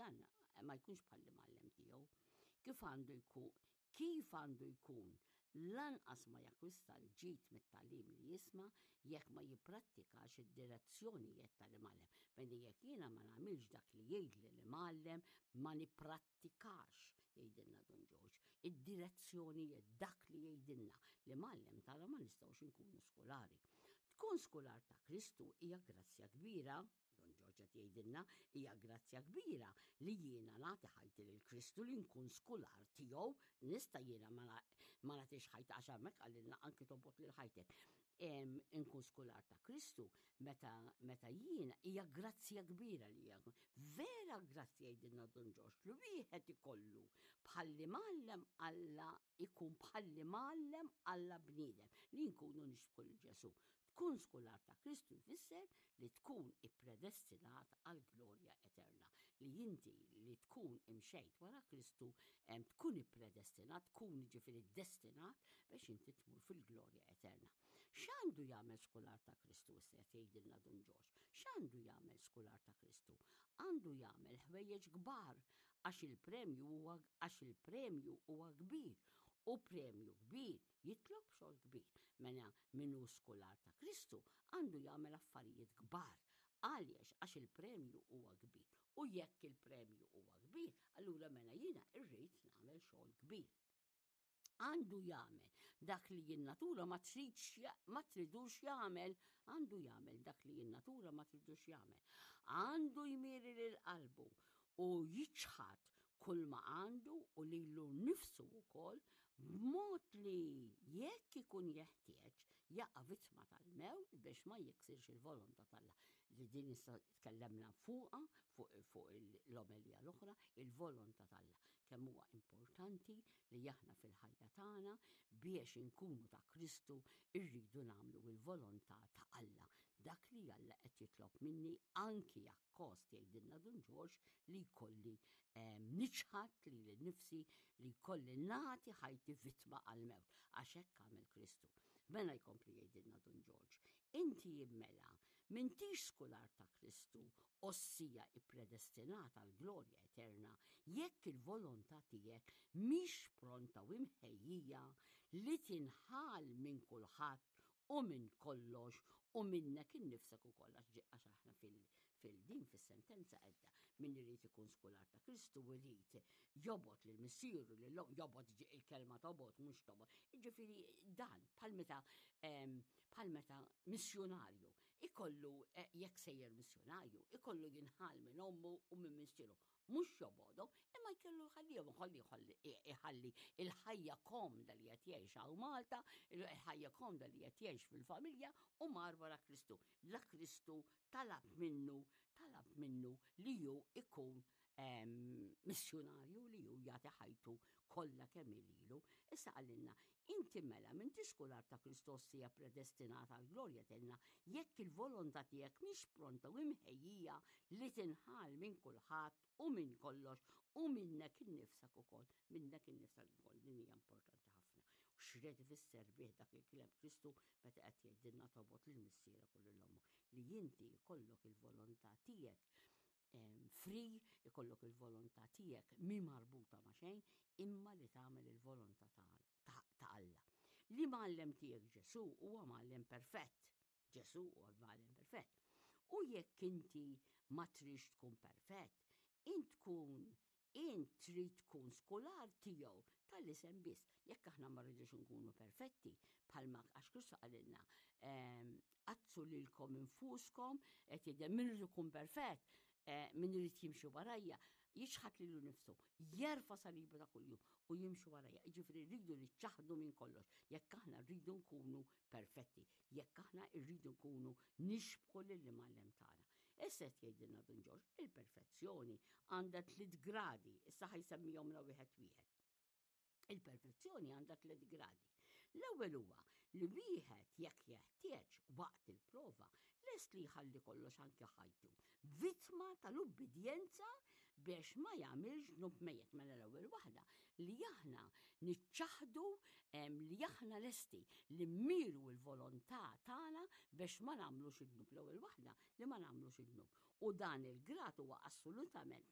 dan ma jkunx bħall-imgħallem tiegħu. Kif għandu jkun kif għandu jkun lanqas ma jakkwista l-ġid mit-tagħlim li jisma' jekk ma jipprattikax id-direzzjonijiet tal-imgħallem. Mela jekk jiena ma nagħmilx dak li jgħidli l-imgħallem ma nipprattikax, jgħidilna Dun Ġorġ, id-direzzjonijiet dak li jgħidilna l-imgħallem tagħna ma nistgħux inkunu skulari. Tkun skular ta' Kristu hija grazzja kbira Don Ġorġ qed jgħidilna hija grazzja kbira li jiena nagħti ħajti lil Kristu li nkun skular tiegħu nista' jiena ma nagħtix ħajti għax hemmhekk qalilna anki tobgħod lil ħajtek. Inkun skular ta' Kristu meta meta jiena hija grazzja kbira li hija vera grazzja jgħidilna Don Ġorġ li wieħed ikollu bħalli mgħallem Alla ikun bħalli mgħallem Alla bniedem li nkunu nixbħu lil Ġesù. Tkun skular ta' Kristu jfisser li tkun ippredestinat għal glorja eterna. Li inti li tkun imxejt wara Kristu tkun ippredestinat, tkun ġifieri destinat biex inti tmur fil-glorja eterna. X'għandu jagħmel skular ta' Kristu issa qed jgħidilna Dun Ġorġ? X'għandu jagħmel skular ta' Kristu? Għandu jagħmel ħwejjeġ kbar għax il-premju huwa għax il-premju huwa kbir u premju kbir jitlob xogħol kbir. Mela min hu skular ta' Kristu għandu jagħmel affarijiet kbar. Għaliex għax il-premju huwa kbir. U jekk il-premju huwa kbir, allura mela jiena rrid nagħmel xogħol kbir. Għandu jagħmel dak li in-natura ma tridx ma tridux jagħmel, għandu jagħmel dak li in-natura ma tridux jagħmel. Għandu jmiri lil qalbu u jiċħad kull ma għandu u lilu nnifsu wkoll b'mod li jekk ikun jeħtieġ jaqa' vittma tal-mewt biex ma jiksirx il-volontà t'Alla. Li din issa tkellemna fuqha fuq fu l-omelija l-oħra, il-volontà t'Alla. Kemm huwa importanti li aħna fil-ħajja tagħna biex inkunu ta' Kristu irridu nagħmlu il-volontà ta' Alla. Dak li Alla qed jitlob minni anki akkost jgħidilna Dun Ġorġ li jkolli ehm, niċħad li l-nifsi li jkolli nagħti ħajti vittma għal-mewt għax hekk għamel Kristu. Mela jkompli jgħidilna Dun Ġorġ, inti mela m'intix skular ta' Kristu ossija ippredestinata għal glorja eterna jekk il-volontà tiegħek mhix pronta u imħejjija li tinħal minn kulħadd u minn kollox u minnek innifsek ukoll għax aħna fil-din fis-sentenza għedda min irid ikun skular ta' Kristu irid jobgħod lil missieru lil jobgħod il-kelma tobgħod mhux tobgħod. Jiġifieri dan bħal meta bħal meta missjonarju ikollu eh, jekk sejjer missjonarju ikollu jinħal minn ommu u minn missieru mhux jobgħodhom, imma jkellu jħallihom, jħalli jħalli iħalli il-ħajja komda li qed jgħix hawn Malta, il-ħajja komda li qed jgħix fil-familja u mar wara Kristu. La Kristu talab minnu, talab minnu li ju ikun ehm, missjonarju li ju jagħti ħajtu kollha kemm ililu. Issa qalilna, inti mela minn tiskular ta' Kristos hija predestinata għal glorja tenna jekk il-volontà tiegħek mhix pronta u imħejjija li tinħal minn kulħadd u minn kollox u minnek innifsek ukoll, minnek innifsek ukoll din hija importanti ħafna. U x'red ifisser bih dak il-kliem Kristu meta qed jgħidilna tobgħod lil missierek u lil ommok li inti jkollok il-volontà tiegħek free, ikollok il-volontà tiegħek mi marbuta ma' xejn, imma li tagħmel il-volontà ta' Alla. Li mgħallem tiegħek Ġesù huwa mgħallem perfett. Ġesù huwa mgħallem perfett. U jekk inti ma trix tkun perfett, int tkun int trid tkun skular tiegħu tal-isem biss. Jekk aħna ma rridux nkunu perfetti, bħalma għax Kristu qalilna, ehm, qazzu lilkom infuskom, qed jgħidem min irid ikun perfett, eh, min irid jimxi warajja, jiċħad lilu nifsu, jerfa' salibu ta' kuljum u jimxi warajja. Jiġifieri rridu niċċaħdu minn kollox, jekk aħna rridu nkunu perfetti, jekk aħna rridu nkunu nixbħu lill-imgħallem tagħna. Issa qed jgħidilna Dun Ġorġ, il-perfezzjoni għandha tliet gradi, issa ħajsemmihomna wieħed wieħed. Il-perfezzjoni għandha tliet gradi. L-ewwel huwa li wieħed jekk jeħtieġ waqt il-prova lest li jħalli kollox anke ħajtu. Vittma tal-ubbidjenza biex ma jagħmilx dnub mejjet mela l-ewwel waħda li aħna niċċaħdu li aħna lesti li mmiru l-volontà tagħna biex ma nagħmlux id-dnub l-ewwel waħda li ma nagħmlux id-dnub. U dan il-grad huwa assolutament